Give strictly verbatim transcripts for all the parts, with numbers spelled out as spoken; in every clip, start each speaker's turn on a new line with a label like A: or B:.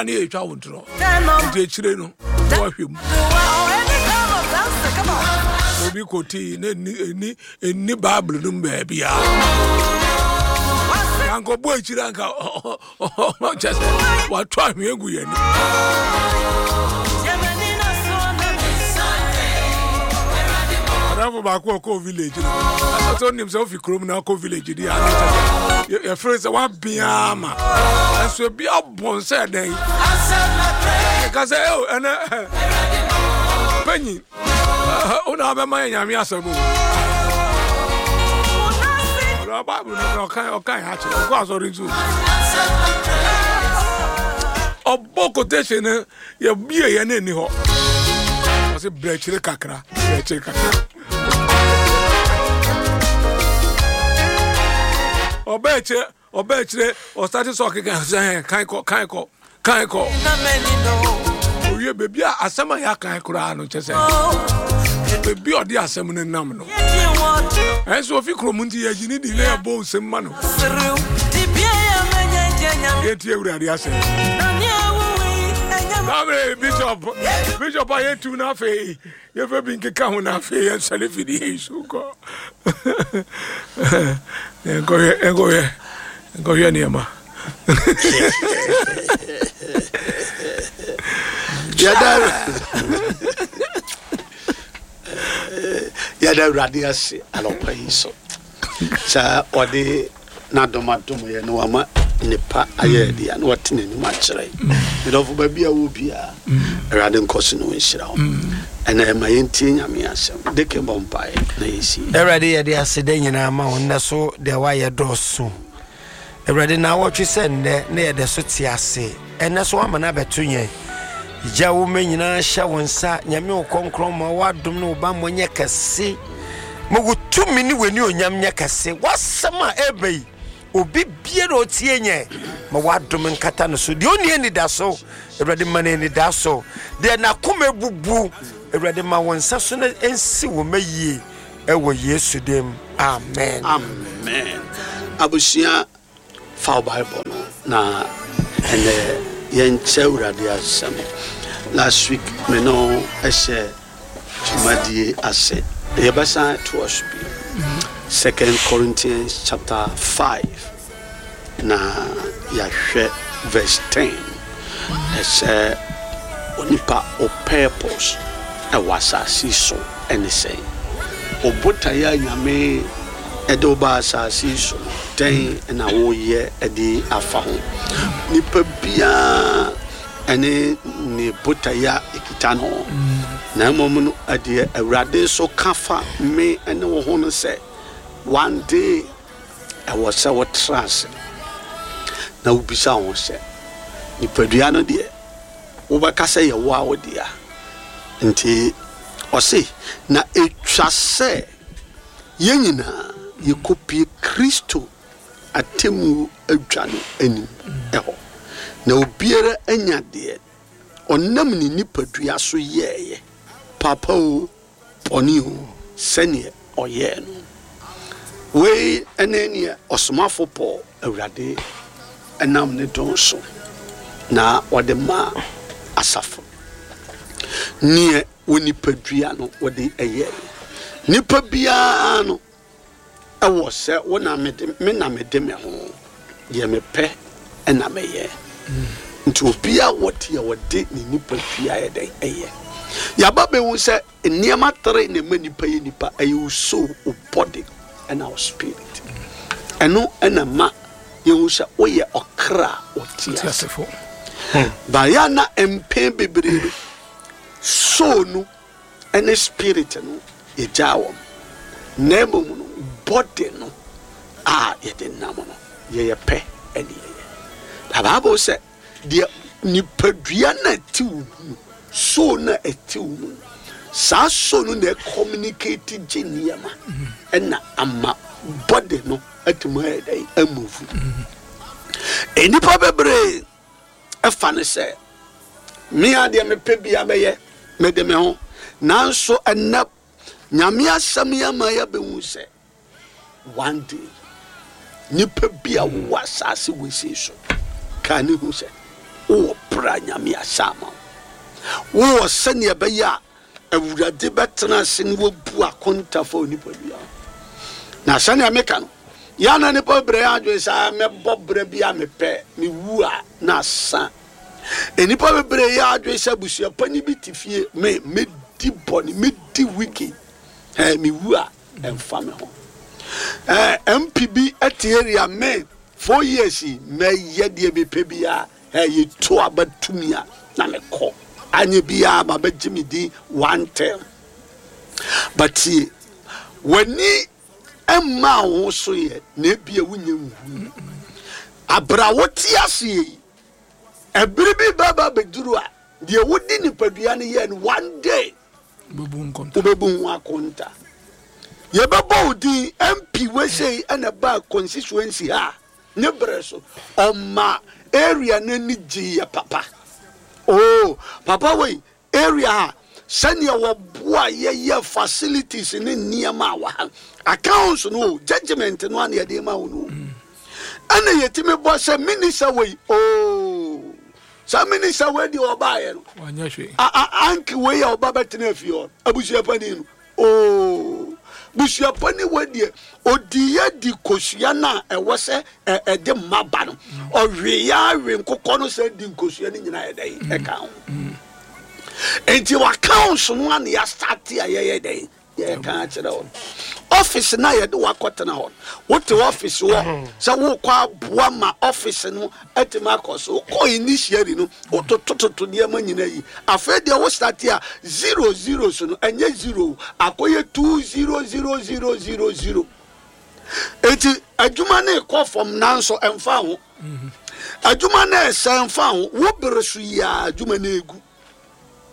A: Ne yɛtwa wo ntorɔ nti akyire no woahwɛ mu obi kɔtii na ɛni ɛni ɛni Bible no mu baabiaa ankɔbɔ akyire anka kyɛ sɛ wato ahwea gu yɛni. Adamfo baako ɔkɔɔ village no, ɛsɛ sɛ wonim sɛ wofi kurom na akɔ village di ade kyɛ sɛ yɛfrɛ sɛ woabea ma ɛnso ebi abɔn sɛ dɛn yɛka sɛ ɛ ɛnɛ panyin wo na wabɛma yɛ Nyame asɛm o. Ɔno Bible no ɔka ɔka yɛ akyerɛ ɔkɔ asɔre nso ɔbɔ quotation no yɛbie yɛ no ani hɔ ɔsɛ brɛkyerɛ kakra brɛkyerɛ kakra ɔbɛkyerɛ ɔbɛkyerɛ ɔsate sɛ ɔkeka sɛ kan kɔ kan kɔ kan kɔ owie beebi a asɛm a yɛakan koraa no kyɛ sɛ beebi a ɔde asɛm no nam no ɛnso ofi kurom nti yɛgye ne di na yɛbɔ nsɛm ma no. Yɛntie Awurade asɛm. Saa bishop bishop a yɛtu no afei yɛfɛ bi nkeka ho no afei yɛnsɔre fidie yi so kɔ nkɔhwɛ nkɔhwɛ nkɔhwɛ nneɛma.
B: Yɛda yɛda Awurade ase anɔpa yi so sɛ ɔde n'adom adom yɛ na wama nnepa ayɛ adi a na wate n'anim akyerɛ. Medɔfo, baabi a wɔ biara, Awurade nkɔ so na ɔnhyira wo. Ɛna ɛma yɛntie Nyame asɛm. De ke bɔ mpaeɛ na yɛsi.
C: Awurade, yɛde aseda nyinaa ma wo nnɛ so deɛ woayɛ dɔɔso. Awurade, naawɔtwe sɛ nnɛ na yɛde so te ase. Ɛnnɛ so woama no abɛto yɛn. Gya wo mma nyinaa hyɛ wo nsa. Nyame wo kɔnkrɔn ma w'adom ne wo bammɔ nyɛ kɛse. Ma wo tumi ne w'anuonyam nyɛ kɛse. W'asɛm a ɛreba yi, obi biara ɔtie nyɛ, ma w'adom nkata no so. Deɛ ɔnni anidaso, Awurade ma no anidaso. Deɛ n'akoma abubu, Awurade ma wo nsa so na ɛnsi wo mma yie. Ɛwɔ Yesu dim, amen.
B: Amen. Abusua, fa wo Bible no na ɛnɛ yɛnkyɛ Awurade asɛm. Last week me no ɛhyɛ dwumadie ase. Yɛbɛsan toa so bio. Second Corinthians chapter five na yɛahwɛ verse ten. Ɛsɛ onipa o purpose ɛwɔ asase so ɛne sɛn? O botaeɛ a Nyame ɛde wo ba asase yi so no, dɛn na woyɛ de afa ho? Nipa biara ɛne ne botaeɛ a ɛkita no. Na mmom no, ɛdeɛ Awurade nso ka fa me ne wo ho no sɛ, one day ɛwɔ sɛ wotra ase na wobisa wo ho sɛ, nipadua no deɛ, wobɛka sɛ yɛ wo a wo dea. Nti ɔse, na ɛtwa sɛ yɛn nyinaa yɛkɔpue Kristo atemmuo adwa no anim hɔ, na obiara anya deɛ ɔnam ne nipadua so yɛeɛ, papa oo, bɔne oo, sɛdeɛ ɔyɛɛ no. Wei ne neɛ ɔsomafo Paul Awurade nam ne dɔn so na ɔde maa asafo no. Neɛ wɔ nipadua no wɔde yɛeɛ. Nipa biara no ɛwɔ sɛ wo na mede me na mede me ho, deɛ mepɛ na mɛyɛ. Nti obiara wɔ deɛ ɔde ne nipadua yɛ dɛn ɛyɛ. Yɛaba bɛhu sɛ nneɛma tere na ɛma nipa yɛ nipa. Ɛyɛ wo soul, wo body ɛna wo spirit. Ɛno ɛna ma yɛhu sɛ woyɛ ɔkra a ɔte ase. Baeɛ na mpɛn bebree no soul no ɛne spirit no yɛgyaa wɔn, na mmom no body no a yɛde nam no yɛyɛ pɛ ɛne yɛyɛ. Na Bible sɛ deɛ nipadua na ɛte wo mu no, soul na ɛte wo mu no, saa soul no na ɛcommunicate gye nneɛma ɛna ama body no atumi ayɛ dɛn amove. Nnipa bebree ɛfa no sɛ me a deɛ mepɛ bia mɛyɛ, mede me ho. Nanso ɛnɛ Nyame asɛm yi ama yɛabɛhu sɛ one day nipa bi a wowɔ asase wesei so ka ne hu sɛ Wowɔ berɛ a Nyame ahyɛ ama wo. Wowɔ sɛnea ɛbɛyɛ a Awurade bɛtena ase na wabu akonta fa onipadua ho. Na sɛnea meka no, yɛ na nipa bebree adwene sɛ ah, mɛbɔ berɛ bi a mepɛ, mewu a na asa. Nnipa bebree yɛ adwene sɛ abusua panyin bi te fie, me medi bɔne, medi wicked, eh, mewu a ɛmfa me ho. Eh, M P bi te area, me four years yi mɛyɛ deɛ mepɛ biara, eh, yɛtu aba tumi a na mekɔ, anyɛ biara ma bɛgye me din one term. But tie, w'ani mma wo ho so yɛ na ebia wonya nhu abra wote aseɛ yi, ɛbere bi bɛba bɛduru a deɛ wodi nipadua no yɛ no, one day
A: wobɛbu nkonta.
B: Wobɛbu ho akonta. Yɛbɛbɔ wo din M P wesei ɛna ba constituency ha ne berɛ so ɔma area no ani gye yɛ papa. Oh, papa wei area ha sɛnea wɔboa yɛyɛ facilities ne nneɛma a wɔ ha, accounts no o, judgement no a na yɛde ma wo no o. Ɛna yɛtumi bɔ sɛ minister wei o, saa minister wei deɛ ɔbaeɛ no
A: wanyɛ hwee.
B: a- a- anki wei a ɔba bɛtena afie hɔ, abusuapani no oo, busuapani wei deɛ odi yɛ di kosua no a ɛwɔ sɛ ɛ- ɛde mma ba no, ɔwe yɛ awe nkokɔ no sɛ di nkosua no nyinaa yɛ dɛn ɛka ho. Enti w'accounts no a na yɛastart a yɛyɛ dɛn yɛka akyerɛ wo no, office na yɛde wakɔtena hɔ no, wote office hɔ sɛ wokɔ aboa ma office no atumi akɔ so. Wokɔ initially no, wototototo nneɛma nyina yi. Afei deɛ wo start a zero zero so no, ɛnyɛ zero, akɔyɛ two zero zero zero zero zero. Enti adwuma no ekɔ fam, nanso ɛmfa ho. Adwuma no ɛsɛ mfa ho. Wo bere so yi a adwuma no egu.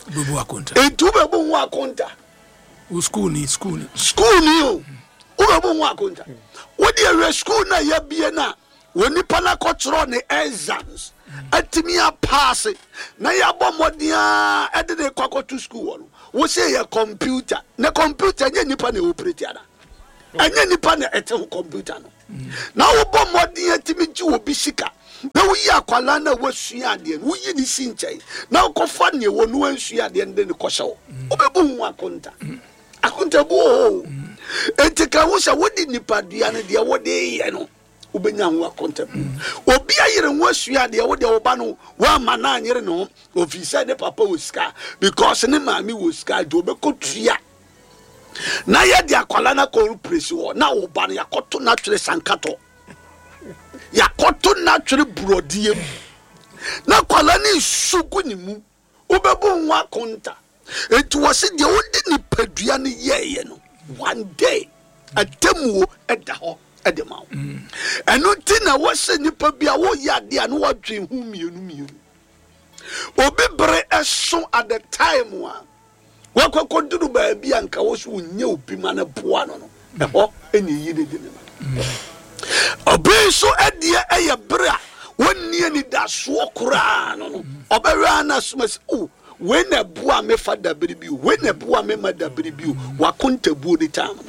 A: Wobɛbu akonta.
B: Enti wobɛbu ho akonta.
A: Wo school ni school ni.
B: School ni o, wobɛbu ho akonta. Wode awie school no a yɛabie no a wɔ nipa no akɔkyerɛ ne exams atumi apass na yɛabɔ mmɔden a ɛde ne kɔ akɔto school hɔ no, wo sɛ yɛ computer na computer nyɛ nipa na ɛoperate ana ɛnyɛ nipa na ɛte ho computer no na wobɔ mmɔden atumi gye obi sika na woyi akwalaa no a wasua adeɛ no, woyi ne si nkyɛn na wokɔfa neɛ wɔ no ansua adeɛ no de ne kɔhyɛ wo, wobɛbu ho akonta. Akonta bu wɔ hɔ o. Enti ka ho sɛ wode nipadua no deɛ wode yɛ no, wobɛnya ho akonta bu. Obi ayere ho asua adeɛ, wode wo ba no woama no anyere ne ho ofiri sɛ ne papa wɔ sika, because ne maame wɔ sika nti wobɛkɔ tua na yɛde akwala no akɔ presi hɔ na wo ba no yɛakɔto n'atwere sankatɔ, yɛakɔto n'atwere borɔdeɛ mu na akwala no nsu gu ne mu, wobɛbu ho akonta. Enti wɔ se deɛ wode nipadua no yɛɛyɛ no, one day atemmuo ɛda hɔ ɛde ma wo. Ɛno nti na wɔsɛ nipa bi a woyɛ adeɛ a na wɔadwen ho mmienu mmienu. Obi bere ɛso at the time a wakɔkɔ duru baabi a nka wɔ so wonyɛ obi ma no boa no no ɛhɔ ɛne yi ne de ne ma. Obi nso ɛdeɛ ɛyɛ bere a wɔnni anidasoɔ koraa no no ɔbɛwɛ ana soma sɛ o, wei na ɛboa me fa dabere bi o, wei na ɛboa me ma dabere bi o. Wakontabuo ne time no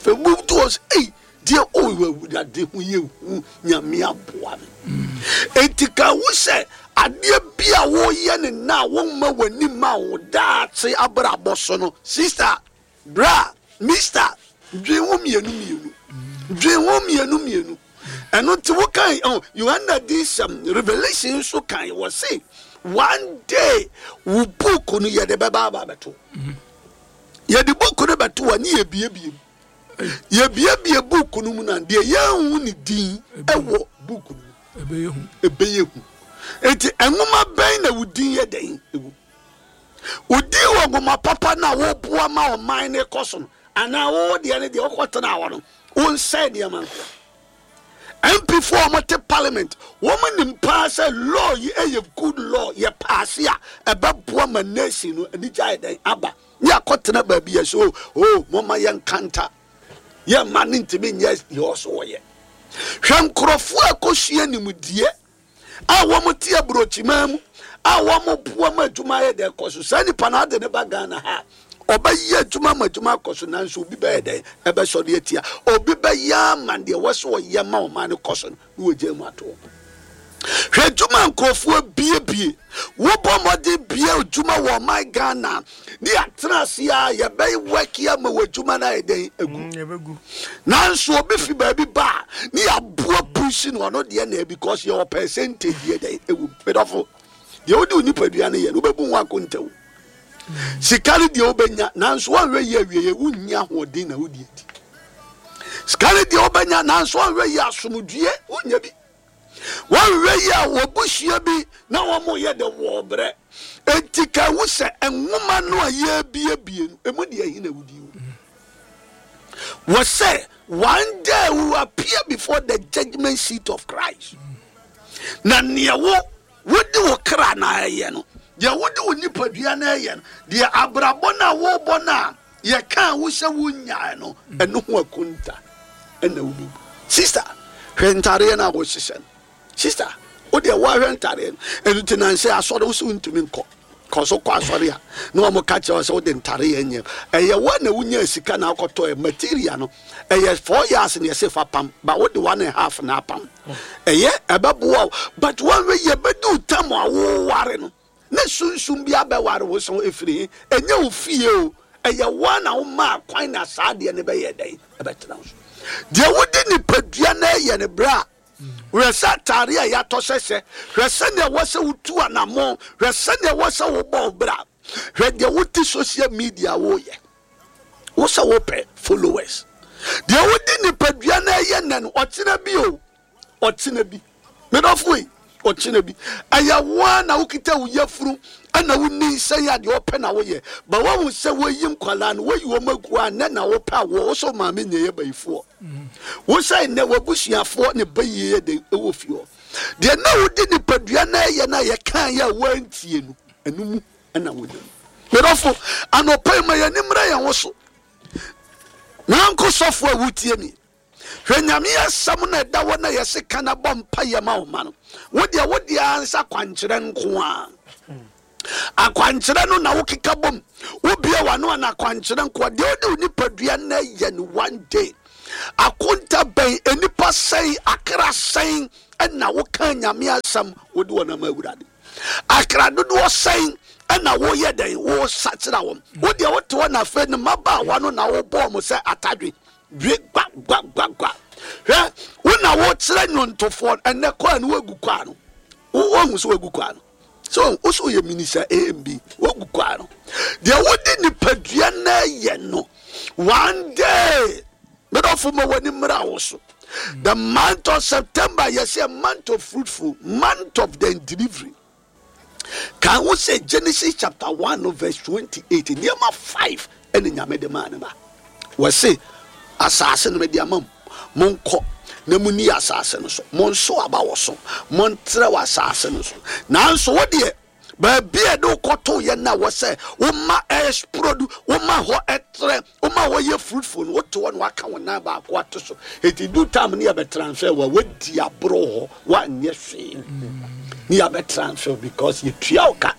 B: fɛ move to us. Ei deɛ o, Awurade ho yɛ hu, Nyame aboa me. Enti ka wo sɛ adeɛ bi a woyɛ ne na a womma w'ani ma wo daakye abrabɔ so no, sister, bra, mister, dwen ho mmienu mmienu, dwen ho mmienu mmienu. Ɛno nti wokan oh, Yohana di sɛm, Revelation nso kan wɔ se one day wo book no yɛde bɛba aba bɛto. Yɛde book no bɛto a ne yɛbiebie mu, yɛbiebie book no mu na deɛ yɛnhu ne din ɛwɔ book no mu.
A: Ɛbɛyɛ hu.
B: Ɛbɛyɛ hu. Enti nwoma bɛn na wo din yɛ dɛn ɛwɔ wo din wɔ nwoma papa no a woboa ma ɔman no kɔ so no, anaa wo deɛ no deɛ wokɔtena hɔ no wonsɛe nneɛma nkoa? M P foɔ a wɔte parliament, wɔn nim paa sɛ law yi ɛyɛ good law, yɛ pass a ɛbɛboa ma nation no anigye ayɛ dɛn aba, ne akɔtena baabi yɛ so o, mɔma yɛn kanta yɛn ma ne ntumi nyɛ deɛ ɔso wɔyɛ. Hwɛ nkurɔfoɔ a kɔsua nimdeɛ a wɔn te aburokyiman mu a wɔn boa ma adwuma ayɛ dɛn kɔ so. Saa nipa no ade ne ba Ghana ha, ɔbɛyɛ adwuma ma adwuma akɔ so, nanso obi bɛyɛ dɛn ɛbɛsɔre atia. Obi bɛyɛ ama deɛ wɔsɛ ɔyɛ ma ɔman no kɔ so no na wɔgya mu ato hɔ. Hwɛ adwuma nkurɔfoɔ biebie, wobɔ mmɔden bie adwuma wɔ ɔman Ghana ne yɛatena ase a yɛbɛyɛ wɛki ama wɔ adwuma no ayɛ dɛn agu. Nanso obi fi baabi ba a ne yɛaboa pusi no, ɔno deɛ na because yɛwɔ percentage yɛ dɛn ɛwɔ mu. Medɔfo, deɛ wode wo nipadua no yɛ no, wobɛbu ho akontawu. Sika no deɛ wobɛnya, nanso woanhwɛ yie awieɛ wonnya ahoɔden na wode adi. Sika no deɛ wobɛnya, nanso woanhwɛ yie asomdwie wonnya bi. Woanhwɛ yie a wɔbusua bi na wɔn yɛ de wɔ brɛ. Enti ka ehu sɛ nwoma no a yɛrebiebie no, emu deɛ ɛhe na wodi wo? Wɔ sɛ one day we will appear before the judgment seat of Christ. Na nea wo wode wo kra na ɛyɛ no, deɛ wode wo nipadua na ɛyɛ no, deɛ abrabɔ no a wobɔ no a yɛkaa wo sɛ wonyae no, ɛno ho akonta ɛna wobɛbu. Sister, hwɛ ntareɛ no a wohyehyɛ no. Sister, wo deɛ woahwɛ ntareɛ no. Ɛno nti nansɛ asɔre wo sɛ wontumi nkɔ. Kɔ so kɔ asɔre a na wɔn ka kyerɛ wo sɛ wode ntareɛ nyɛ. Ɛyɛ wo na wonya sika na akɔtɔ ɛ material no. Ɛyɛ four years na yɛsɛ fa pam, but wode one and a half na apam. Ɛyɛ ɛbɛboa wo, but wɔnhwɛ yɛ bɛdu tam a woware no ne sunsum bi abɛware wo so ɛfiri he. Ɛnyɛ wo fie o, ɛyɛ wo na woma kwan na saa adeɛ no bɛyɛ dɛn ɛbɛtena wo so. Deɛ wode nipadua no ɛyɛ no berɛ a hwɛ sɛ atare a yɛatɔ sɛsɛ, hwɛ sɛnea ɛwɔ sɛ wotu anammɔn, hwɛ sɛnea ɛwɔ sɛ wobɔ wo bra, hwɛ deɛ wote social media woyɛ, wo sɛ wopɛ followers. Deɛ wode nipadua no ɛyɛ nnɛ no, ɔkyena bi o, ɔkyena bi, medɔfo yi, ɔkyena bi ɛyɛ wo na wokita wo yafunu ɛna woni nsɛn a deɛ ɔpɛ na woyɛ. Ba woahu sɛ woyi nkwalaa no, woyi wɔn agu a nnɛ na wopɛ a wɔ wo sɛ maame nyɛ yɛ bayifoɔ. Wo sɛ nnɛ w'abusuafoɔ ne bayie yɛ de ɛwɔ fie hɔ. Deɛ na wode nipadua no ɛyɛ no a yɛkaa yɛ a woantie no, ɛno mu ɛna wonam. Medɔfo, anɔpa yi ma yɛni mmra yɛn ho so. Nanko sɔfo a wotie mi, hwɛ Nyame asɛm na ɛda hɔ na yɛse ka na bɔ mpa yɛ ma wo ma no. Wo deɛ wo deɛ ansa kwankyerɛ nko a. Akwankyerɛ no na wokeka bom. Wobie w'ano a na akwankyerɛ nko a. Deɛ wode wo nipadua no ɛyɛ no one day. Akonta bɛn, enipa sɛn, akra sɛn ɛna woka Nyame asɛm wode wɔn ama Awurade. Akra dodoɔ sɛn ɛna woyɛ dɛn wosakyera wɔn. Wo deɛ wote hɔ na afei ne mmabaawa no na wobɔɔ mo sɛ atadwe. Dwe gwa gwa gwa gwa. Hwɛ, wo na wokyerɛ nnwontofoɔ ɛnɛ kɔa no woagu kɔa no. Wo woahu sɛ woagu kɔa no. So wo so yɛ minister A M B, woagu kɔa no. Deɛ wode nipadua na ɛyɛ no, one day, medɔfo ma w'ani mmra wo so. The month of September, yɛsɛ a month of fruitful, month of the delivery. Kan wo sɛ Genesis chapter one verse twenty-eight, nneɛma five ɛne Nyame de maa ne ba. Wɔse asase no mede ama mo, monkɔ na munni asase no so, monso aba wɔ so, montrɛw asase no so. Nanso wo deɛ, baabi a ɛde wokɔtoo yɛ na wɔ sɛ woma ɛsprodu, woma hɔ ɛtrɛ, woma hɔ yɛ fruitful no, wote hɔ na waka wo nan baako ato so. Eti du time ne yɛbɛ transfer wa, wadi aboro hɔ, wanyɛ hwee. Ne yɛbɛ transfer because yɛtua wo ka.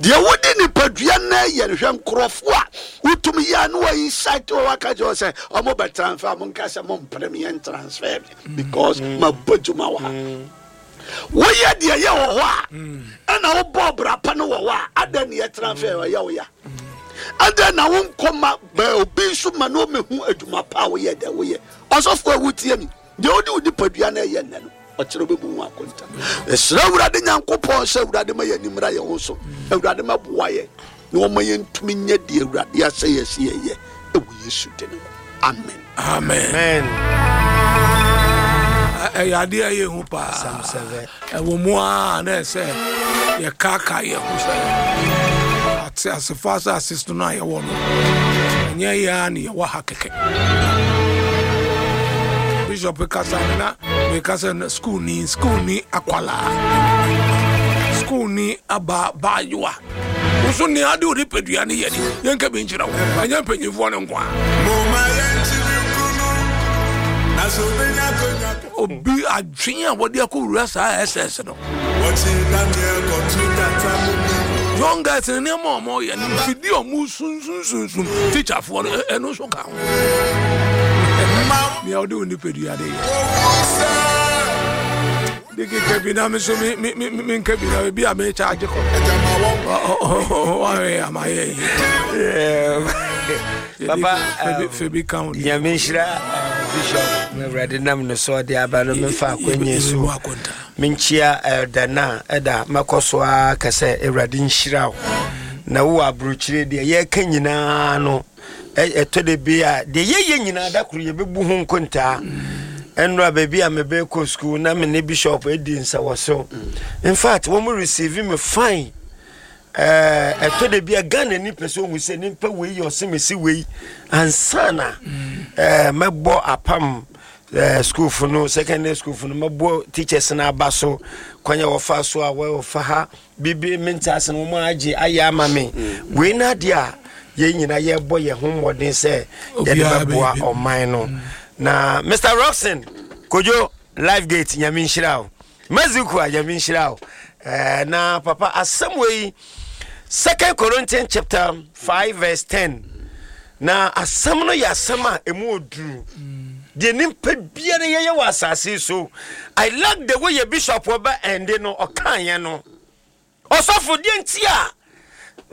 B: Deɛ wode nipadua na ɛyɛ no, hwɛ nkurɔfoɔ a wotumi yɛ a na wɔ insight wɔ waka kyerɛ sɛ ɔmo bɛ transfer, mo nka sɛ mo mpere me yɛn transfer me because ma bɔ adwuma wɔ ha. Woyɛ deɛ yɛ wɔ hɔ a, ɛna wobɔ brapa no wɔ hɔ a, adɛn ne yɛ transfer ɛyɛ wo ya? Adɛn na wonkɔ ma bɛ obi nso ma na ɔmɛhu adwuma pa a woyɛ dɛ woyɛ? Ɔsɔfo a wotie mi, deɛ wode wo nipadua na ɛyɛ nnɛ no, ɔkyerɛ wobɛbu ho akonta. Ɛsrɛ Awurade Nyankopɔn sɛ Awurade ma yɛn ani mmra yɛn ho so. Awurade ma boa yɛn na ɔma yɛntumi nyɛ deɛ Awurade asɛ yɛ sɛ yɛyɛ ɛwɔ Yesu din mu. Amen.
A: Amen.
C: Amen.
A: Ɛyɛ adeɛ a ɛyɛ hu paa.
C: Psalm seven.
A: Ɛwɔ mu a na ɛsɛ yɛkaaka yɛn ho sɛ ate asefa asase so no a yɛwɔ no, ɛnyɛ yɛn a na yɛwɔ ha kɛkɛ. Bishop kasa no na meka sɛ school ni, school ni akwalaa, school ni aba baayewa. Wo so nea ade wo nipadua no yɛ ni, yɛnka bi nkyerɛ wo. Ɛnyɛ mpanyimfoɔ no nko a. Obi adwene a wɔde akɔwura saa S S no. Young guys no nneɛma a wɔyɛ no, mfidie a wɔn sunsunsunsun teacherfoɔ no, ɛno nso ka ho. Nea ɔde wo nipadua de yɛ. Diki kebi na mi so mi mi mi mi nkebi na ebi a mi charge kɔ. Wahwɛ ama yɛ yi.
C: Papa,
A: Febi kan o.
C: Nyame nhyira Bishop na Awurade nam ne so ɔde aba no. Memfa akwanya so menkyia elder na ɛda mɛkɔ so a ka sɛ Awurade nhyira wo na wowɔ aburokyire. Deɛ yɛreka nyinaa no, ɛtɔ de bi a deɛ yɛyɛ nyinaa, da koro yɛbɛbu ho nkontaa. Ɛnora baabi a mebɛkɔ school na me ne Bishop adi nsɛwɔ so. In fact, wɔn receive me fine. Ɛtɔ de bi a Ghana ni pɛ sɛ ohun sɛ nipa wei yɛ ɔsɛ mesi wei ansa na ɛɛ mɛbɔ apam ɛɛ school fo no, secondary school fo no, mɛbɔ teachers no aba so kwan a wɔfa so a wɔfa ha bibi mente ase no, wɔn agye ayɛ ama me. Wei na adeɛ a yɛn nyinaa yɛbɔ yɛn ho mmɔden sɛ yɛde bɛboa ɔman no. Na Mister Roxon Kojo Life Gate, Nyame nhyira o. Mexico a, Nyame nhyira o. ɛɛ na papa, asɛm wei, Second Corinthians chapter five verse ten, na asɛm no yɛ asɛm a emu oduru deɛ nipa biara yɛyɛ wɔ asase so. I like the way yɛ bishop ɔbɛ ɛnde no ɔka yɛn no. Ɔsɔfo deɛ nti a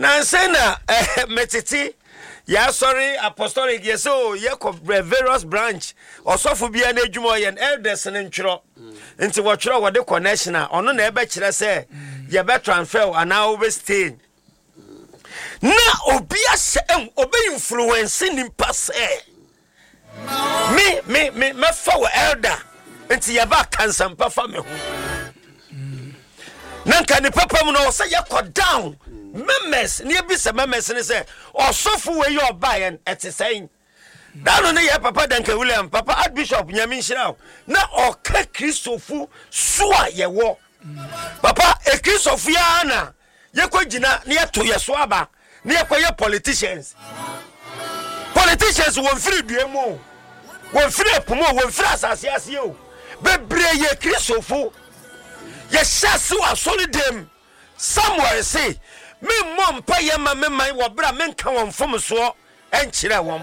C: nansɛn na ɛɛ mɛtete yɛasɔre apostolic yɛ sɛ o yɛkɔ various branch, ɔsɔfo biara n'adwuma ɔyɛ no, elders no ntwerɛ nti wɔtwerɛ wɔde connection a ɔno na ɛbɛkyerɛ sɛ yɛbɛ transfer anaa wɔbɛ stay na obi ahyɛ ɛhu obi influence nipa sɛ me me me mɛfa wɔ elder nti yɛba kansampa fa me ho na nka ne papa mu no ɔsɛ yɛkɔ down members ne yɛbisa members ne sɛ ɔsɔfo wei yɛ ɔbaeɛ no ɛte sɛn. Dano ne yɛ papa Duncan William, papa Archbishop, Nyame nhyira wo, na ɔka Kristofo so a yɛwɔ papa ekristofo yi ara na yɛkɔ gyina na yɛto yɛ so aba na yɛkɔyɛ politicians. Politicians wɔn firi dua mu o, wɔn firi ɛpo mu o, wɔn firi asase ase o, bebree yɛ Kristofo. Yɛhyɛ ase wɔ asɔre dɛm. Samuel se memmɔ mpa yɛ ma me man wɔ berɛ a menka wɔn mfomsoɔ ɛnkyerɛ wɔn.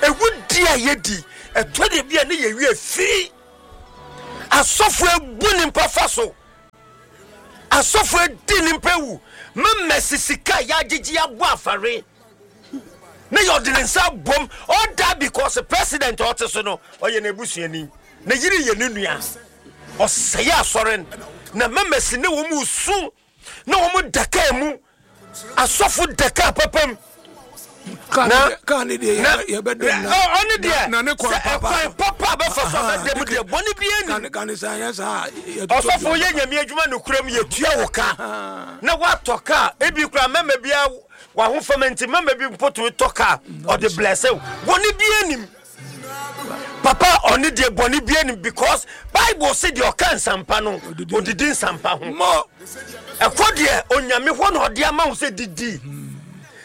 C: Ɛwu di a yɛdi ɛtɔ de bi a ne yɛwie firi asɔfo ebu nipa fa so, asɔfo edi nipa ewu mmɛmɛ sika a yɛagyegye abɔ afare ne yɛ ɔde ne nsa abom. All that because president a ɔte so no ɔyɛ n'ebusuani, ne yere yɛ ne nua. Ɔsɛe asɔre no na mmɛmɛsi ne wɔn mu su na wɔn da kaa mu, asɔfo da kaa papa mu.
A: Na kaa ne deɛ yɛbɛdɛm na
C: ɔne deɛ
A: na ne kwan
C: sɛ
A: papa
C: ɛkwan papa a bɛfa so a bɛdɛm deɛ, bɔne bi ani.
A: Kane sɛ anyɛ saa.
C: Ɔsɔfo yɛ Nyame adwuma nokuram, yɛtua wo ka na woatɔ kaa. Ebi kora mɛma bia wahofama nti mɛma bi mpo tumi tɔ kaa ɔde blɛsɛ wo. Bɔne bi anim, papa. Ɔne deɛ bɔne bi anim because Bible se deɛ ɔka nsampa no odidi nsampa ho.
A: Mɔ
C: ɛkɔ deɛ Onyame hɔ na ɔde ama wo sɛ didi.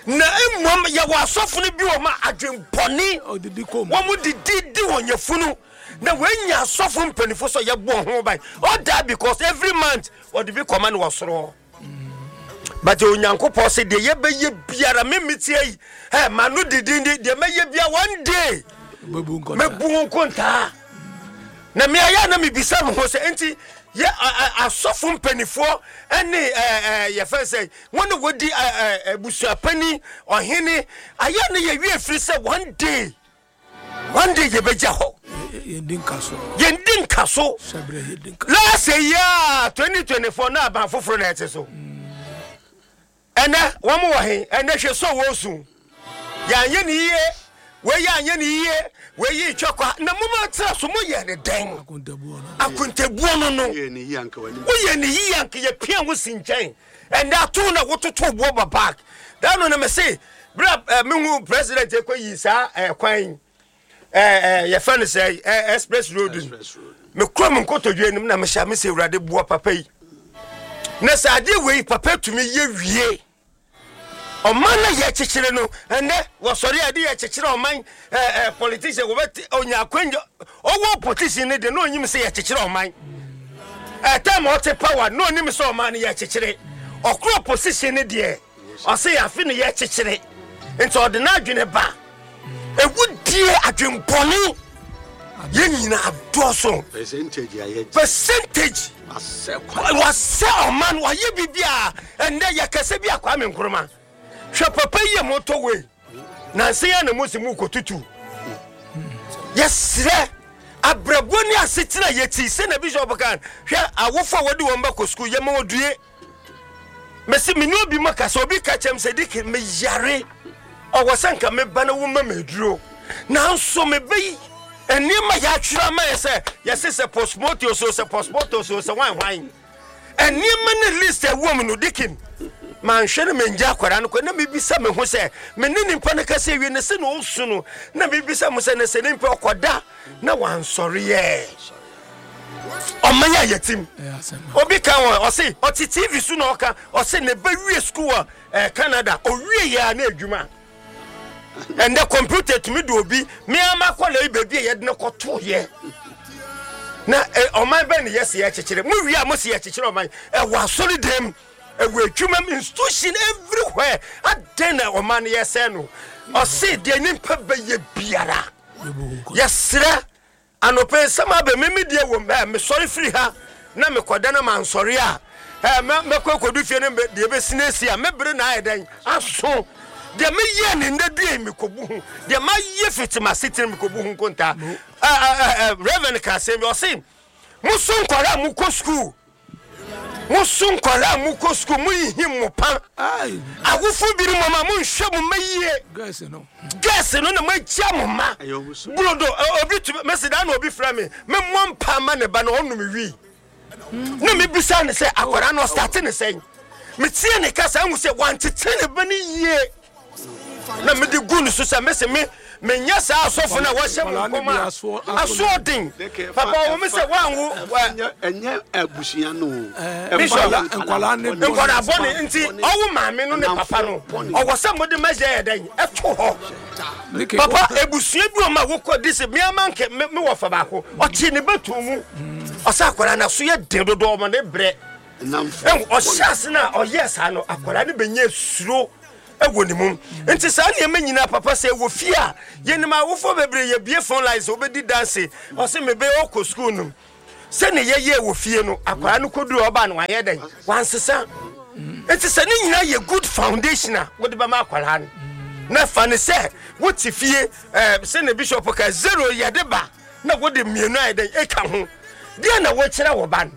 C: Na mmom yɛwɔ asɔfo no bi wɔ ma adwempɔne.
A: Ɔdidi kom.
C: Wɔn mo didi di wɔn yafunu na wɔanya asɔfo mpanimfo sɛ yɛbɔ ho ban. All that because every month wɔde bi kɔma no wɔ soro hɔ. But Onyankopɔn sɛ deɛ yɛbɛyɛ biara, me tie yi ɛ ma no didi di deɛ mɛyɛ biara, one day
A: bɛbu nkɔta.
C: Mɛbu ho nkontaa. Na meayɛ na mebisa me ho sɛ nti yɛ asɔfo mpanimfoɔ ɛne ɛɛ yɛfɛ sɛ wɔn a wɔdi abusuapani ɔhene ayɛ ne yɛwie firi sɛ one day, one day yɛbɛgya hɔ.
A: Yɛndi nka so.
C: Yɛndi nka so.
A: Hyɛberɛ yɛdi nka.
C: Last year twenty twenty-four na aban foforɔ na ɛte so. Ɛnɛ wɔn wɔ he? Ɛnɛ hwɛ so wɔ su yɛanyɛ ne yie, wei yɛanyɛ ne yie, wei yi twɛ kwa na mo ma tena so mo yɛ ne dɛn?
A: Akontabuo no.
C: Akontabuo no no
B: Woyɛ ne yie anka w'anim.
C: Woyɛ ne yie anka yɛpia wo si nkyɛn. Ɛnɛ ato na wototo boɔ ba back da no na me se berɛ a mehu president ɛkɔ yi saa ɛkwan yi ɛɛ yɛfɛ no sɛ ɛ express road no.
B: Express road.
C: Mekura me nkotodwe anim na mehyɛ me sɛ Awurade boa papa yi na sɛ adeɛ wei papa tumi yɛ wie ɔman na yɛkyekyere no. Ɛnɛ wɔsɔre a yɛde yɛkyekyere ɔman ɛɛ ɛɛ politician wɔbɛte onya akwanya ɔwɔ politician ne de na onyim sɛ yɛkyekyere ɔman. Ɛtɛm a ɔte power na onim sɛ ɔman no yɛkyekyere. Ɔkoro opposition ne deɛ ɔsɛ yɛafe no yɛkyekyere nti ɔde n'adwene ba ewudie adwenbɔne yɛn nyinaa dɔɔso.
B: Percentage a yɛgye.
C: Percentage. Wasɛ ɔman wayɛ biribi a ɛnnɛ yɛkɛsɛ bi a Kwame Nkrumah. Hwɛ papa yi a motorway nansa yi a na mosi mu kɔtutu. Yɛsrɛ abrabɔ ne asetena yɛti sɛ na Bishop kan hwɛ awofo a wɔde wɔn bɛkɔ sukuu yɛma wɔdue. Mesi me ne obi ma kasa, obi ka kyɛm sɛ dike meyare ɔwɔ sɛ nka meba na woma me aduro, nanso mebɛyi nneɛma yɛatwerɛ ama yɛ sɛ yɛse sɛ postmortem so sɛ postmortem so sɛ hwan hwan nneɛma ne list ɛwɔ mu no, dikin manhwɛ no mengya akwadaa no kɔ na mebisa me ho sɛ me ne nipa no kasa wie ne sɛ na ɔsu no, na mebisa mo sɛ ne sɛ nipa ɔkɔda na wansɔre yɛ ɔman a yɛtim. Obi ka wɔ ɔse ɔte T V so na ɔka ɔse ne ba wie school wɔ eh, Canada, owie yɛ a na adwuma ɛndɛ computer tumi de obi mmeama kɔla yi baabi a yɛde no kɔto yɛ na eh, ɔman bɛn ne yɛsi yɛkyekyere mo wie a mo si yɛkyekyere ɔman ɛwɔ asɔre dɛm, ɛwɔ adwuma mu, institution everywhere. Adɛn na ɔman no yɛsɛn no? Ɔse deɛ nipa bɛyɛ biara yɛsrɛ anɔpɛ nsɛm abɛ mimi deɛ wɔ ɛ mesɔre firi ha na mekɔda na mansɔre a ɛ mɛ mɛkɔ akɔdu fie no deɛ bɛsi na esi a mɛbere na ayɛ dɛn aso deɛ meyɛ ne nnɛ dua yi mekɔbu ho deɛ mayɛ fiti m'asetena mekɔbu ho nkontaa. ɛ ɛ ɛ Reverend ka asɛm bi, ɔse moso nkɔla a mokɔ sukuu, moso nkɔla a mokɔ sukuu, moyihi mo pa awofo bi no mɔma monhwɛ mo mma yie.
A: Girls no.
C: Girls no na moagya mo mma burodo. Obi tumi mesi da na obi frɛ me memmɔ mpa ma ne ba na ɔnom wi na mebisa ne sɛ akwadaa no ɔstart ne sɛn. Metie ne kasa ahu sɛ wantete ne ba no yie na mede gu ne so sɛ mese me menyɛ saa asɔfo no a wɔhyɛ mo nkɔm a asoɔden papa wɔ me sɛ woanwo.
B: Ɛnyɛ abusua no.
C: Bishop,
A: nkwadaa ne
C: nkwadaa bɔne nti ɔwo maame no ne papa no ɔwɔ sɛ mode mɛyɛ yɛ dɛn ɛto hɔ. Papa, ebusua bi wɔ ma wokɔ de sɛ miama nkɛ me me wɔ fa baako ɔkye ne bɛtu mu ɔsɛ akwadaa no so yɛ den dodo ɔma ne brɛ ɛhu ɔhyɛ ase no a ɔyɛ saa no akwadaa no bɛnya suro ɛwɔ ne mu. Nti saa nneɛma nyinaa papa sɛ ɛwɔ fie a yɛnim awofoɔ bebree yɛbie phone lines wobɛdi danse ɔsɛ mebɛyɛ ɔkɔ sukuu no sɛne yɛyɛ wɔ fie no akwadaa no kɔduru ɔba no wayɛ dɛn wansesa. Nti sɛ ne nyinaa yɛ good foundation a wode bɛma akwadaa no na fa ne sɛ wote fie ɛɛ sɛne Bishop ka zero yɛde ba na wode mmienu ayɛ dɛn ɛka ho deɛ na wɔkyerɛ wɔ ba no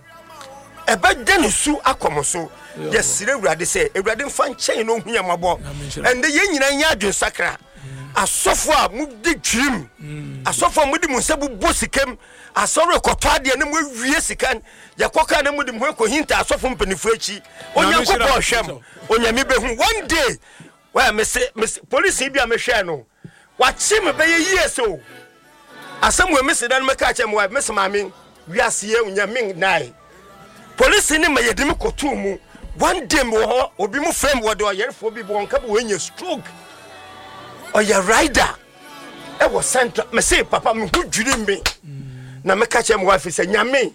C: ɛbɛda ne su akɔ mo so. Yɛsrɛ Awurade sɛ Awurade mfa nkyɛn na ɔhu yɛn mmɔbɔ. Ɛndɛ yɛn nyinaa nyɛ adwensakra. Asɔfo a mode dwirim, asɔfo a mode mo nsa bobɔ sikam asɔre kɔtɔ adeɛ na moawie sika yɛkɔ kaa na mode mo ho akɔhinta asɔfo mpanimfoɔ akyi, Onyankopɔn hwɛm, Onyame bɛhu one day. Wɛ mese mese polisi bi a mehwɛɛ no wakye me bɛyɛ yie so asɛm wɔ mese da no mɛka kyerɛ me wa mese maame wiase yɛ Onyame nnae polisi ne ma yɛde me kɔtoo mu. One day mewɔ hɔ, obi mu frɛ me, wɔde ɔyɛrefoɔ bi wɔn ka bi wɔanya stroke, ɔyɛ rider ɛwɔ Central. Mese papa me ho dwiri me na meka kyerɛ me wife sɛ Nyame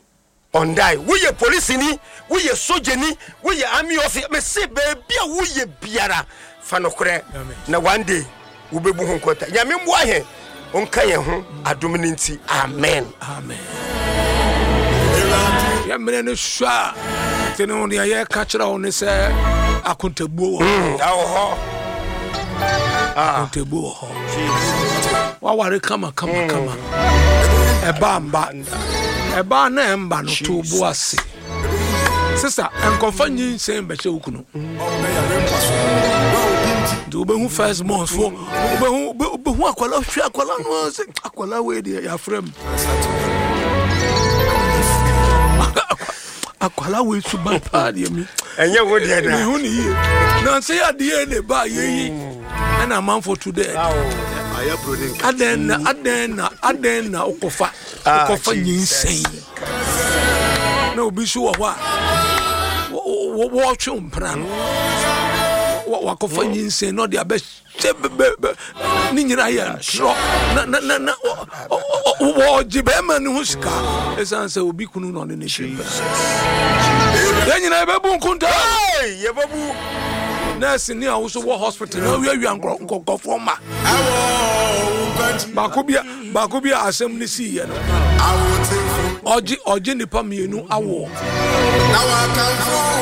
C: ɔndae. Woyɛ polisini, woyɛ sogyani, woyɛ army officer, mese baabi a woyɛ biara fa nokorɛ na one day wobɛbu ho nkɔnta. Nyame mmoa yɛn, ɔnka yɛn ho adom no nti, amen.
A: Amen. Yɛ mmerɛ no sua a nti no deɛ yɛka kyerɛ wo ne sɛ akontabuo wɔ hɔ.
C: Ɛwɔ hɔ.
A: Akontabuo wɔ hɔ. Waware kama kama kama, ɛba mba ɛba na ɛmba no to bo ase sisa nkɔfa nyinsɛn bɛhyɛ wo kunu nti wobɛhu first month fo wobɛhu wobɛhu akwala hwɛ akwala no sɛ akwala wei deɛ yɛafrɛ m akwala wei suban paa deɛ mi
C: ɛnyɛ wo deɛ da.
A: Mehu ne yie na sɛ yɛ adeɛ ne ba yɛyi ɛna amanfo to dɛ adɛn na adɛn na adɛn na wokɔfa wokɔfa nyinsɛn na obi so wɔ hɔ a wɔtwe mpena no wakɔfa nyinsɛn na ɔde abɛhyɛ ne nyinaa yɛ ntorɔ na na na na wɔgye bɛrima ne ho sika ɛsiane sɛ obi kunu na ɔne ne hye mpena. Yɛn nyinaa yɛbɛbu nkonta.
C: Yɛbɛbu.
A: Nurse ni a woso wɔ hospital na wiawia nkɔkɔfoɔ ma baako bi a baako bi a asɛm ne sii yɛ no. Ɔgye ɔgye nipa mmienu awoɔ,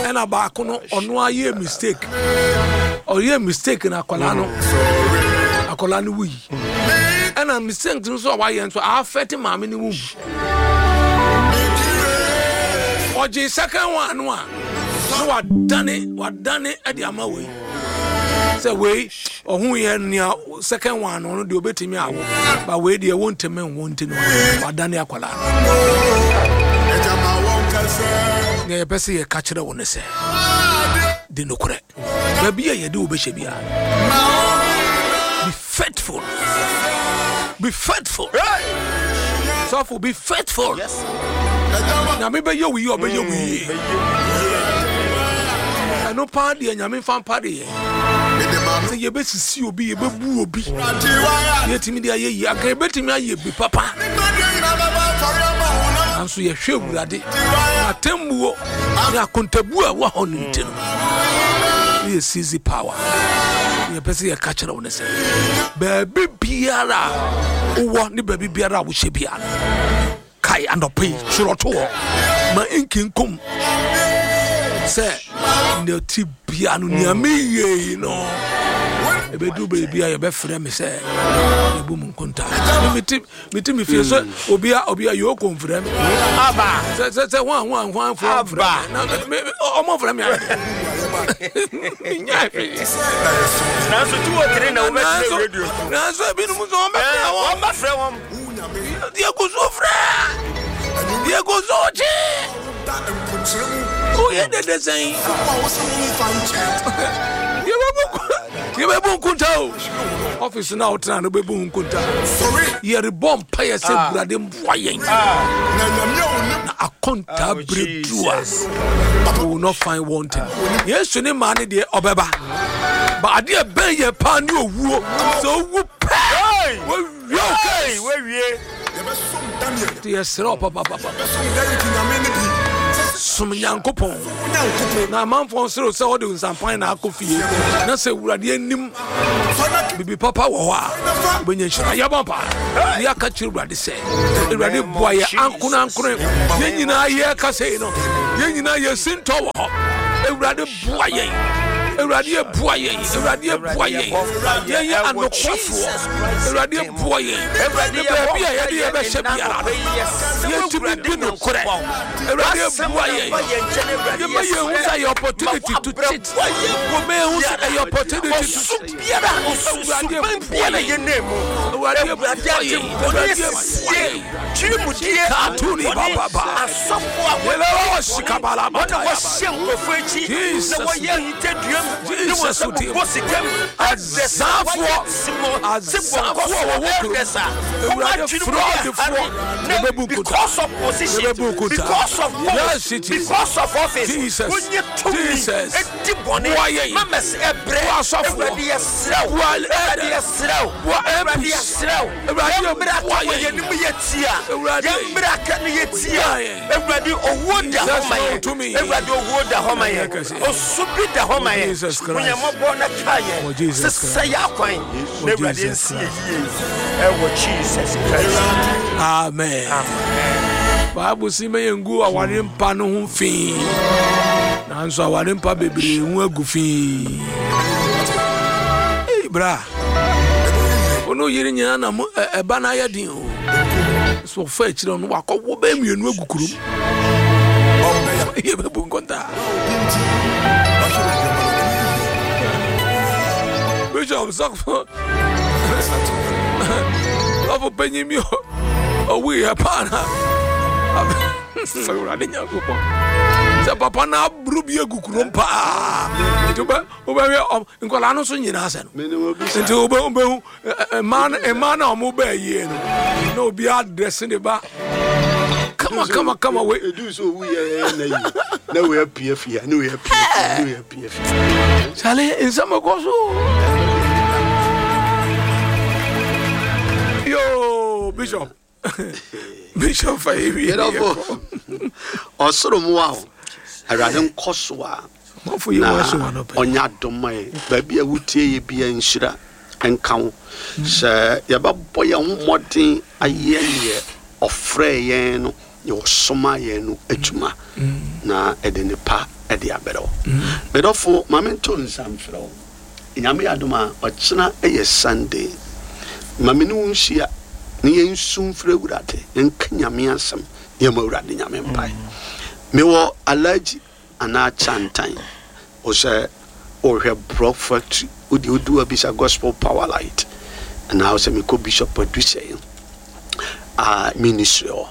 A: ɛna baako no ɔno ayɛ mistake, ɔyɛ mistake na akwadaa no akwadaa no wuyi, ɛna mistake nso a wayɛ nso afɛte maame no wum. Ɔgye second one no a, na wadane wadane ɛde ama wei sɛ wei ɔho yɛ nea second one no deɛ obetumi awo, ba wei deɛ wɔntumi nwo, nti no wadane akwadaa no. Nea yɛpɛ sɛ yɛka kyerɛ wo ne sɛ, di nokorɛ baabi a yɛde wo bɛhyɛ biara. Be faithful, be faithful. Sɔfo, be faithful. Nyame bɛyɛ wo yie, ɔbɛyɛ wo yie. Ɛno paa deɛ, Nyame mfa mpa de yɛ sɛ yɛbɛsisi obi, yɛbɛbu obi, yɛtumi de ayɛ yie, anka yɛbɛtumi ayɛ bi papa, nanso yɛhwɛ Awurade atemmuo ne akontabu a ɛwɔ hɔ no nti no, ne yɛ seize power. Ne yɛpɛ sɛ yɛka kyerɛ wo ne sɛ, baabi biara a wowɔ ne baabi biara a wohyɛ biara, kae anɔpa yi, twerɛ to hɔ ma nkinkom sɛ nea ti bia no, nea meyɛ yi no, ɛbɛduru baabi a yɛbɛfrɛ me sɛ yɛbu mu nkonta. Mete mete me fie sɛ obia obia yɛ ɔkɔ mfrɛ me
C: Aba.
A: Sɛ sɛ sɛ hwan hwan hwan foɔ mfrɛ
C: Aba.
A: me na me- me- ɔmo frɛ me ayɛ menya hwee.
C: Nanso two o three na wobɛtena
A: Nanso
C: radio so.
A: Nanso ebinom nso ɔmbɛfrɛ wɔn.
C: Wɔmbɛfrɛ wɔn.
A: Deɛ gu so frɛ, deɛ gu so kye, woyɛ dede sɛn, yɛbɛbu yɛbɛbu nkonta o. Ɔfisi no a wotena no, bɛbu nkonta. Yɛrebɔ mpayɛ sɛ Awurade mboa yɛn na akonta
C: Oh,
A: berɛ du a,
C: Jesus.
A: we will not find wanting. Yesu ne maa ne deɛ ɔbɛba ba, adeɛ bɛn yɛ paa ne owuo. Sɛ owu pɛ, wawie wo
C: Hey,
A: case.
C: wawie.
A: Nti yɛserɛ wo papapapa, som Nyankopɔn na amanfoɔ nsere sɛ wode nsampan na akɔ fie, na sɛ Awurade anim biribi papa wɔ hɔ a, wobɛnya nhyira. Yɛbɔ mpa ne yɛaka kyerɛ Awurade sɛ, Awurade, boa yɛ ankonankone. Yɛn nyinaa yɛka sei no, yɛn nyinaa yɛsi ntɔ wɔ hɔ. Awurade, boa yɛn. Awurade, yɛ boa yɛn. Awurade, yɛ boa yɛn. Yɛnyɛ anokwafoɔ. Awurade, yɛ boa yɛn ne baabi a yɛde yɛbɛhyɛ biara no, yɛntumi di nokorɛ. Awurade, yɛ boa yɛn. Yɛma yɛn hu sɛ ɛyɛ opportunity to cheat. Wɔma yɛn hu sɛ ɛyɛ opportunity to cheat. Awurade, boa yɛn. Awurade, boa yɛn. Awurade, boa yɛn. Katuni bababa. Yɛlɛwɔ sikabala
C: Wɔna
A: mataya.
C: wɔhyɛ nkurɔfoɔ akyi
A: Jesus.
C: na wɔyɛ ahintadua mu ne wɔn
A: Jesus
C: sɛ
A: wo
C: bobɔ sika mu.
A: Azafoɔ. Azafoɔ a wɔwɔ kurom. Awurade, fraudfoɔ. Yɛbɛbu nkonta.
C: Because of position,
A: Yɛbɛbu nkonta.
C: because of
A: Yes,
C: post,
A: it is.
C: because of office,
A: Jesus.
C: wonye tumi
A: Jesus.
C: edi bɔne.
A: Boa yɛn.
C: Mamas ɛbrɛ.
A: Boa asɔfoɔ.
C: Awurade, yɛsrɛ wo.
A: Boa
C: Awurade,
A: elders.
C: yɛsrɛ wo.
A: Boa
C: Awurade,
A: M Ps.
C: yɛsrɛ wo.
A: Awurade,
C: Yɛmmra
A: boa
C: ka wɔ
A: yɛn.
C: yɛn anim yɛ tia.
A: Awurade.
C: Yɛmmra ka no yɛ tia.
A: Boa yɛn.
C: Awurade, owuo da hɔ
A: Jesus
C: ma yɛn.
A: tumi.
C: Awurade, owuo da hɔ ma yɛn.
A: Kɛse.
C: Osu bi da hɔ ma yɛn.
A: Jesus Christ.
C: Onyamɔbɔ na ka yɛn.
A: Wɔ Jesus
C: Sesa yɛ akwan na Awurade
A: Jesus
C: nsi yɛ yie ɛwɔ Jesus Christ.
A: Amen. Bible si ma yɛngu aware mpa no ho fii, nanso aware mpa bebree ho agu fii. Ei, bra wo ne wo yere nyinaa na mo ɛ- ɛba no ayɛ den o, so ɔfa akyirɛ no, wakɔwo bɛɛ mmienu agu kurom. Yɛbɛbu nkɔntaa. Bishop, sɔfo sɔfo panyin bi ɔwuyɛ paa na Awurade Nyankopɔn sɛ papa no aboro bi agu kurom paa, nti wobɛ- wobɛhwɛ ɔm- nkɔlaa no so nyinaa sɛ no.
B: Menim obi saa.
A: Nti wobɛ- wobɛhu ɛ- ɛ- mmaa no mmaa no a ɔmo bɛɛ yie no, na obiara dresse ne ba kama kama kama wei.
B: Edu sɛ owu yɛ na yi na wei apue fie, na wei apue fie, na wei apue fie.
A: Sale nsɛm ɛkɔ so yo. Bishop, Bishop, fa yɛwie.
B: Yɛdɔfo, ɔsoro mmoa wo. Awurade nkɔ so a
A: Mɔfo yi
B: na
A: wɔ so wɔ no pɛ.
B: Ɔnyɛ adom ma yɛn. Baabi a wotie yɛ bia, nhyira nka wo sɛ yɛbɛbɔ yɛn ho mmɔden ayɛ neɛ ɔfrɛ yɛn no. Yɛ ɔsoma yɛn no adwuma na ɛde nipa ɛde abrɛ wo. Medɔfo, ma mento nsa mfrɛ wo. Nyame adom a, ɔkyena ɛyɛ Sunday. Ma me ne wo nhyia na yɛnsu mfrɛ Awurade, yɛnka Nyame asɛm, yɛma Awurade Nyame mpae. Mewɔ Alaji anaa Chantan wo sɛ wohwɛ Block Factory, wode wodu abisa Gospel Power Light anaa wo sɛ mekɔ Bishop Adusɛn a ministry hɔ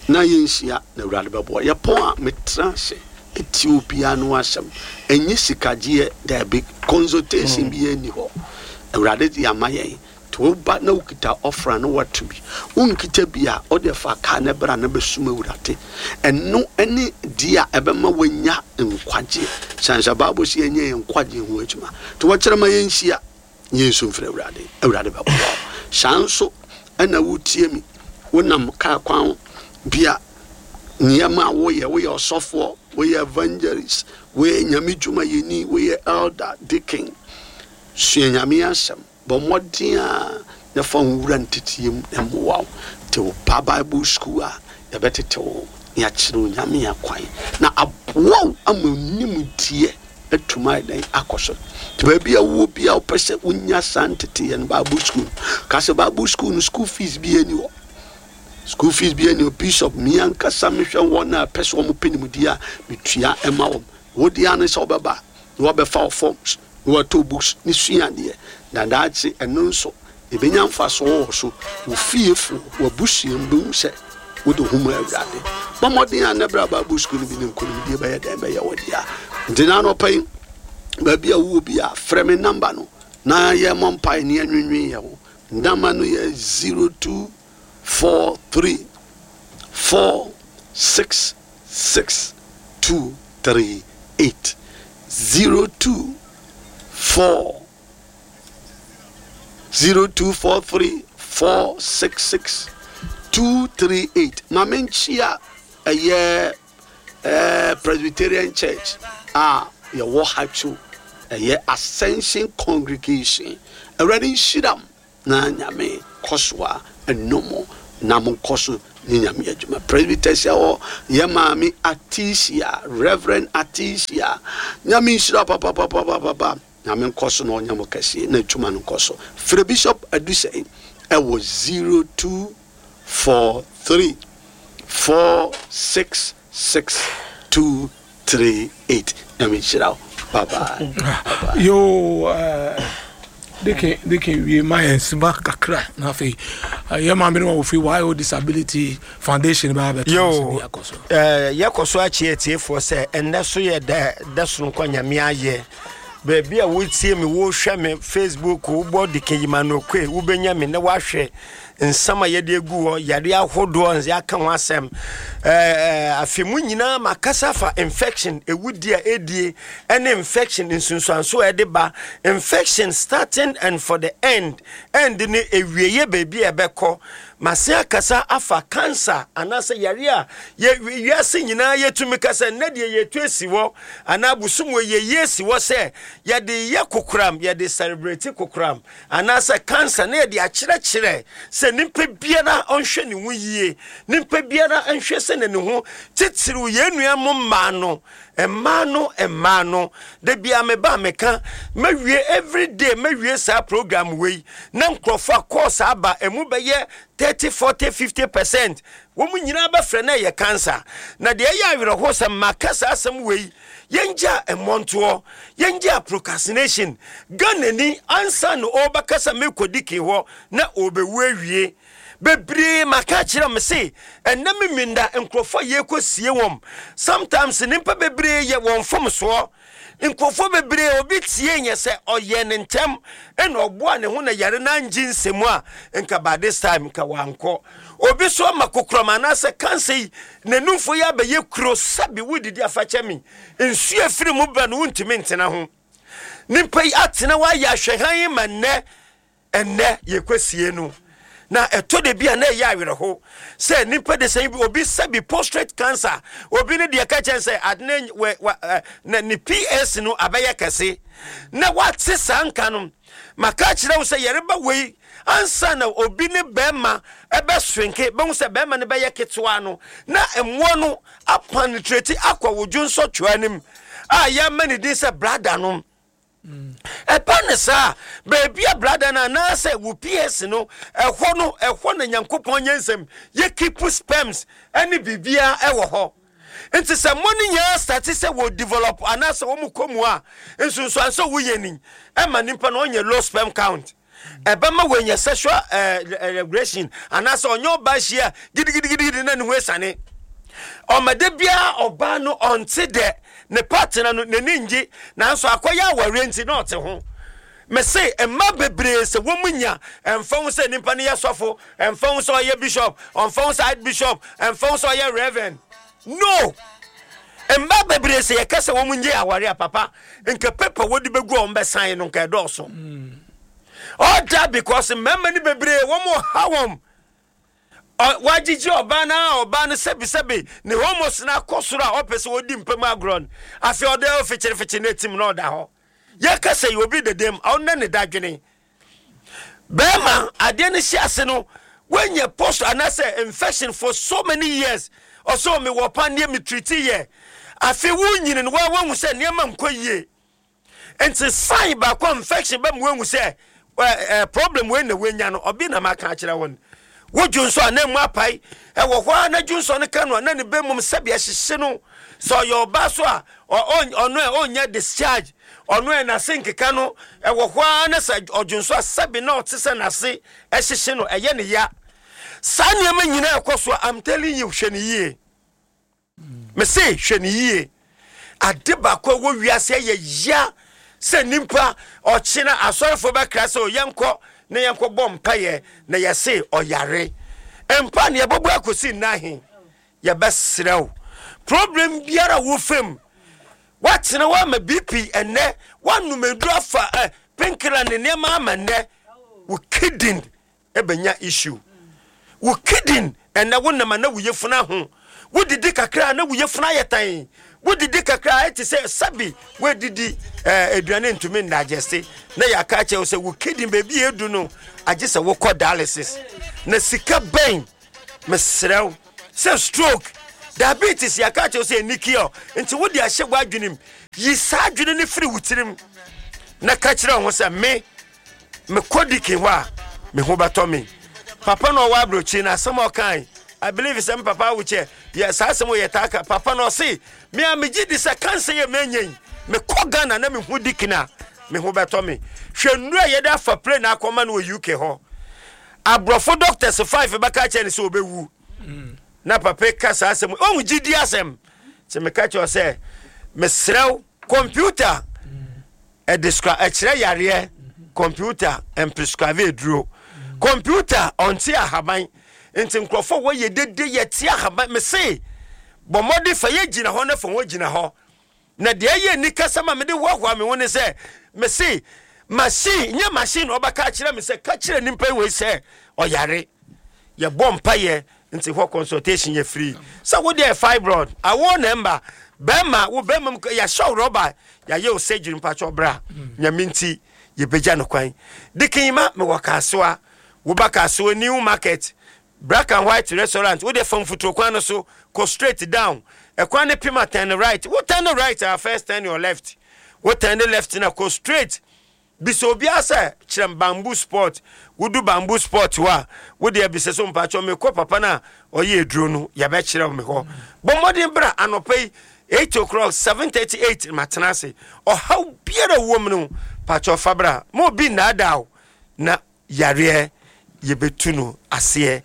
B: na yɛnhyia na Awurade bɛboa. Yɛpɔn a, metena ase ɛtie obiara no asɛm. Ɛnyɛ sikagyeɛ, daabi, consultation bi ani hɔ. Awurade de ama yɛn nti woba na wokita ɔfra na wato bi, wonkita bi a, wode fa kaa ne bra na bɛsum Awurade. Ɛno ne deɛ a ɛbɛma woanya nkwagyeɛ, sane sɛ Bible sɛ yɛnyɛ yɛn nkwagyeɛ ho adwuma. Nti wɔkyerɛ ma yɛnhyia, yɛnsu mfrɛ Awurade, Awurade bɛboa wo. Saa nso ɛna wotie mi, wonam kaa kwan bi a nneɛma a woyɛ, woyɛ ɔsɔfoɔ, woyɛ evangelist, woyɛ Nyame dwumayɛni, woyɛ elder, deacon, sua Nyame asɛm, bɔ mmɔden a na fa wo wura nteteɛ mu na mmoa wo. Nti woba Bible school a, yɛbɛtete wo na yɛakyerɛ wo Nyame akwan na aboa wo ama nimdeɛ atumi ayɛ dɛn akɔ so. Nti baabi a wowɔ bi a wopɛ sɛ wonya saa nteteɛ no, Bible school no ka sɛ Bible school no, school fees bi ani hɔ, school fees bi ani hɔ. Bishop mi ankasa mehwɛ wɔn a pɛ sɛ wɔn pɛ nimdeɛ a, metua ɛma wɔn. Wodi ano sɛ wɔbɛba na wɔbɛfa wo forms na wɔatɔ books ne sua adeɛ na daakye ɛno nso ebɛnya mfasoɔ wɔ so. Wo fiefo, w'abusua mu bɛhu sɛ wode ho ma Awurade. Bɔ mmɔden a ne bra Bible school no bi ne nkonimdie bɛyɛ dɛn bɛyɛ wɔ dea. Nti na anɔpa yi, baabi a wowɔ bi a, frɛ me number no na yɛmmɔ mpae ne yɛnwenwen yɛ ho. Number no yɛ zero two four three four six six two three eight, zero two four zero two four three four six six two three eight. Ma menkyia ɛyɛ ɛɛ Presbyterian Church a yɛwɔ Hatcho, ɛyɛ Ascension Congregation. Awurade nhyira m na Nyame kɔ so a ɛnom na monkɔ so ne Nyame adwuma. Presbyters a hɔ, yɛ maame Atisia, Reverend Atisia, Nyame nhyira papapapapapa. Nyame nkɔ so na ɔnyɛ mo kɛseɛ na adwuma no nkɔ so. Frɛ Bishop Adusɛn ɛwɔ zero two four three four six six two three eight. Nyame nhyira wo. Bye bye, bye bye.
A: Yo, uh, deacon, deacon, wie ma yɛn sima kakra na afei uh, yɛ maame no ma wɔfiri Y O Disability Foundation baa bɛto
C: yo
A: ase ne yɛakɔ so.
C: eh, yɛkɔ so akyi atiefoɔ sɛ ɛnnɛ so yɛ dɛ dɛ sononko a Nyame ayɛ. Baabi a wotie me, wohwɛ me Facebook, wobɔ Deacon Yimanokwe, wobɛnya me na woahwɛ nsɛm a yɛde agu hɔ, yare ahodoɔ nse aka ho asɛm. Eh, afe mu nyinaa makasa fa infection ɛwudi a ɛdie ɛne infection nsunsuanso a ɛde ba, infection starting and for the end end ne ewieɛ baabi a ɛbɛkɔ. Mase akasa afa cancer anaasɛ yare a yɛ wiase nyinaa yɛtumi kasa nnɛ deɛ yɛtu asi hɔ anaa bosom wɔ yɛyi asi hɔ sɛ yɛde yɛ kokoram, yɛde celebrate kokoram anaasɛ cancer na yɛde akyerɛkyerɛ sɛ nipa biara ɔnhwɛ ne ho yie, nipa biara nhwɛ sɛ ne ne ho titiriw yɛn nua mo mmaa no, mmaa no, mmaa no. Da bia meba a meka mawie, everyday mawie saa program wei na nkurɔfoɔ a course aba emu bɛyɛ thirty, forty, fifty percent, wɔn mu nyinaa bɛfrɛ na ɛyɛ cancer. Na deɛ ɛyɛ awerɛho sɛ maka saa asɛm wei, yɛngya mmɔntoɔ, yɛngya procrastination. Ghana ni ansa na ɔrebɛkasa mekɔdi kin hɔ na ɔrebɛwu awie bebree. Maka kyerɛ me se ɛnɛ me minda nkurɔfoɔ a yɛkɔ sie wɔm, sometimes nipa bebree yɛ wɔn fom soɔ. Nkurɔfoɔ bebree obi tie nyɛ sɛ ɔyɛ ne ntɛm ɛna ɔboa ne ho na yare no angye nsɛmu a, nka by this time nka wankɔ. Obi so ama kokoram anaasɛ cancer yi, n'anumfo yi abɛyɛ kuro sɛbi wodidi afakyɛ mi, nsuo efiri mu ba no wontumi ntena ho. Nipa yi atena hɔ ayɛ ahwɛhan yi ma nnɛ ɛnnɛ yɛkɔsie no. Na ɛtɔ de bi a na ɛyɛ awerɛho sɛ nipa de sɛn bi obi sɛbi prostate cancer, obi ne deɛ ka kyɛn sɛ ade wɛ wɛ na ne P S no abɛyɛ kɛse na wate saa nka no. Maka kyerɛ wo sɛ yɛreba wei ansa na obi ne bɛrima ɛbɛswenke bɛhu sɛ bɛrima no bɛyɛ ketewa no, na mmoa no apenetrate akɔ wo dwonsɔtwaa no mu a yɛama ne din sɛ bladder no. Ɛba ne saa, baabi a bladder no anaasɛ wo P S no ɛhɔ no, ɛhɔ na Nyankopɔn nyɛ nsɛm yɛ keep sperms ɛne biribiara ɛwɔ hɔ. Nti sɛ mo no nyinaa start sɛ wɔ develop anaasɛ wɔn kɔ mu a, nsunsuanso woyɛ ni ɛma nipa no ɔnyɛ low sperm count, ɛbɛma wɔanya sexual ɛɛ regression anaasɛ ɔnyɛ ɔbaa hyia gidigidigidi na ne ho esane ɔmɔde biara. Ɔbaa no ɔnte dɛ ne partner no n'ani ngye, nanso akɔyɛ awareɛ nti na ɔte ho. Mese mma bebree sɛ wɔn mu nya, ɛmfa ho sɛ nipa no yɛ sɔfo, ɛmfa ho sɛ ɔyɛ bishop, ɔmfa ho sɛ archbishop, ɛmfa ho sɛ ɔyɛ reverend no, mma bebree sɛ yɛka sɛ wɔn nye aware a, papa, nka paper wɔde bɛgu a wɔn bɛsan no nka ɛdɔɔso. All that because mmarima no bebree wɔn ha wɔn wagyegye ɔbaa no a ɔbaa no sɛbisɛbi ne hormones no akɔ soro a ɔpɛ sɛ wɔdi mpam agorɔ no. Afei ɔde ɔfikyirifikyi no atim na ɔda hɔ. Yɛka sɛ yɛ obi dedem ɔnna ne dadwene bɛrima adeɛ no hyɛ ase no, woanya post anaasɛ infection for so many years. Ɔsɛ me wɔ pa nneɛ me treat yɛ. Afei wonyini no wa wahu sɛ nneɛma nkɔ yie, nti sign baako a infection bɛ mu wahu sɛ ɛ ɛ problem wei na wenya no. Ɔbi na maka akyerɛ wɔn, wodwo nso a na mu apae ɛwɔ hɔ a na dwo nso no ka no a na ne bɛ mum sɛbi ɛhyehye no. Sɛ ɔyɛ ɔbaa so a, ɔno ɛ ɔnyɛ discharge, ɔno ɛ n'ase nkeka no ɛwɔ hɔ a na sɛ ɔdwo nso a, sɛbi na ɔte sɛ n'ase ɛhyehye no, ɛyɛ ne ya. Saa nneɛma nyinaa ɛkɔ so a, I'm telling you, hwɛ ne yie. Mese hwɛ ne yie. Ade baako a ɛwɔ wiase ɛyɛ ya sɛ nipa ɔkyena asɔrefoɔ bɛkra sɛ yɛnkɔ na yɛnkɔ bɔ mpayɛ na yɛse ɔyare mpa ne yɛbɛbɔ akɔsi nnahe. Yɛbɛserɛ wo, problem biara wo fam woatena woama B P ɛnɛ, woanom aduru afa ɛ painkiller ne nneɛma ama nnɛ wo kidney ɛbɛnya issue. Wo kidney ɛnɛ wonam a na wo yɛfunu ho, wodidi kakra na wo yɛfunu ayɛ tan, wodidi kakra ɛte sɛ sɛbi woadidi ɛɛ aduane ntumi ndigest, na yɛaka kyerɛ wo sɛ wo kidney baabi a edu no agye sɛ wokɔ dialysis na sika bɛn. Mesrɛ wo sɛ stroke, diabetes, yɛaka kyerɛ wo sɛ ɛni cure, nti wode ahyɛ w'adwene mu. Yi saa adwene no firi wo tirim na ka kyerɛ wo ho sɛ me mekɔ dikin hɔ a, me ho bɛtɔ me. Papa na ɔwɔ aburokyi na asɛm a ɔkae, I believe sɛ me papa awokyɛ yɛ saa asɛm yɛ taa ka. Papa na ɔse me a megye di sɛ cancer yɛ menya yi, mekɔ Ghana na mehu dikin a, me ho bɛtɔ me. Hwɛ nnuro a yɛde afa plane akɔma no wɔ U K hɔ, aborɔfo doctors five bɛka kyerɛ no sɛ ɔbɛwu, na papa ka saa asɛm. Ɔhu gyidi asɛm sɛ meka kyerɛ sɛ mesrɛ wo, computer ɛdescribe ɛkyerɛ yareɛ, computer mprescribe aduro, computer ɔnte ahaban. Nti nkurɔfoɔ wɔyɛ dede yɛte ahaban, mese bɔ mmɔde fa yɛ gyina hɔ na fa wɔn gyina hɔ. Na deɛ ɛyɛ ni kasa ma mede hoahoa me ho ne sɛ mese machine nyɛ machine na ɔbɛka akyerɛ me sɛ ka kyerɛ nipa wei sɛ ɔyare. Yɛbɔ mpayɛ nti hɔ consultation yɛ free. Sɛ wode yɛ fibroid awo na mba bɛrima wo bɛrima mu yɛahyɛ wo rɔba, yɛayɛ wo surgery, mpakyɛ bra, Nyame nti yɛbɛgya no kwan. Dikin ma mewɔ Kaasoa. Woba Kaasoa New Market, Black and White Restaurant, wode fa mfuturo kwan no so kɔ straight down, ɛkwan ne pima, turn right. Wo turn right a, first turn your left. Wo turn left na kɔ straight, bisa obiara sɛ kyerɛ Bamboo Sport. Wodu Bamboo Sport hɔ a, wode abisa so, mpakyɛ mekɔ papa no a ɔyɛ aduro no, yɛbɛkyerɛ me hɔ. Bɔ mmɔden bra anɔpa yi eight o'clock, seven thirty eight matena ase. Ɔhaw biara wɔ mu no, pakyɛ fa bra ma obi nnaadaa wo na yareɛ yɛbɛtu no aseɛ,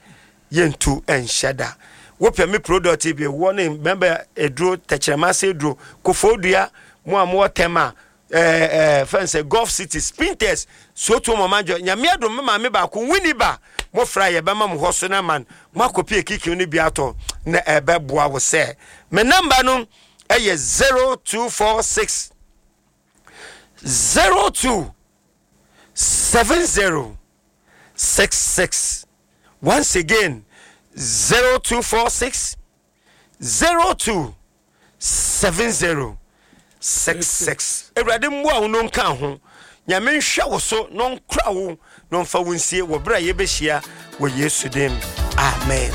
C: yɛntu nhyɛ da. Wopɛ me product bi wɔ ne bɛbɛ aduro, tɛkyerɛma ase aduro, kofo dua mo a mowɔ tɛm a ɛɛ ɛɛ fɛn sɛ Golf City, Spintex, Soto mɔmadwo. Nyame adom, me maame baako wini ba mofra, yɛbɛma mo hɔ so na man mo akɔpi ekiki no bi atɔ na ɛbɛboa wo. Sɛ me number no ɛyɛ zero two four six zero two seven zero six six. Once again, zero two four six zero two seven zero six six. Awurade mmoa wo no nka ho. Nyame nhwɛ wo so na ɔnkora wo na ɔmfa wo nsie wɔ berɛ a yɛbɛhyia wɔ Yesu dim. Amen.